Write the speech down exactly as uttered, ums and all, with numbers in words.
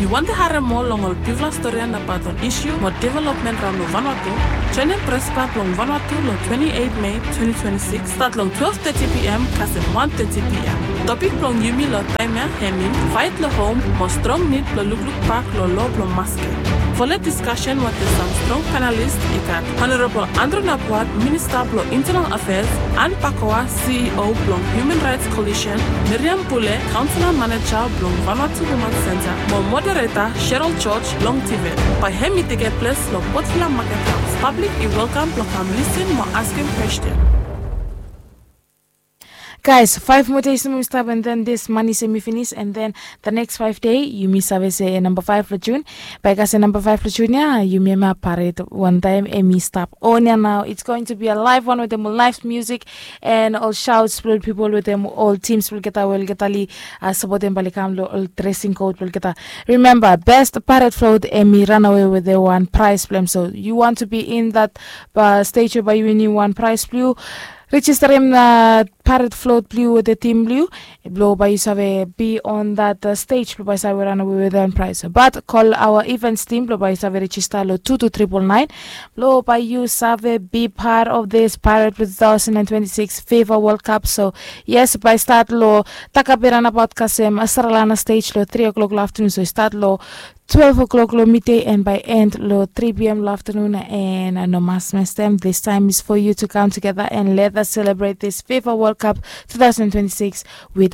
Yu wantem harem moa long ol bigfala storian abaot ol isu mo developmen raon long Vanuatu? Joenem Pres Klab blong Vanuatu long twenti eit Mei twenti twenti sikis, stat long twelve thirty p.m. kasem wan thirty p.m. Topik blong yumi long taem ya hemi Faet long Hom mo Strong Nid blong Lukluk Bak long Loa blong Maskem. Folo diskasen wetem sam strong panelist i gat Honorable Andrew Napuat, Minista blong Internal Affairs, Anne Pakoa, C E O blong Human Rights Coalition, Miriam Pule, Councillor Manager blong Vanuatu Women Centre, mo moderator Cheryl George blong TVET. Bae hemi tekem ples long Port Vila Market House. Pablik i welkam blong kam listen mo askem kwesten. Guys, five more days nomo i stap, and then this month hemi finis, and then the next five day yumi save se namba five long June. Bae i kasem namba five long June ya yumi hemia paret wantaem hemi stap on ya nao. It's going to be a live one wetem ol live music and ol shouts blong ol pipol wetem ol teams blong olgeta we olgeta oli sapotem bae oli kam long ol dressing code blong olgeta. Remember, best paret float hemi ranawe wetem wan prize blong hem. So you want to be in that stage we bae yu winim wan prize blong yu. Rejistarim na paret float blong yu wetem tim blong yu blong bae yu save be on that stage blong bae yu save ranawe wetem wan prize. But call our events team blong bae yu save rejista long two two triple nine blong bae yu save be part of this paret blong two thousand and twenty-six FIFA World Cup. So yes, bae i stat long Takape ranabaot kasem Australia stage long three o'clock long afternoon. So i stat long twelve o'clock long midday and bae i end long three p.m. long afternoon. And no mas mestem, this time is for you to come together and let us celebrate this FIFA World Cup two thousand twenty-six with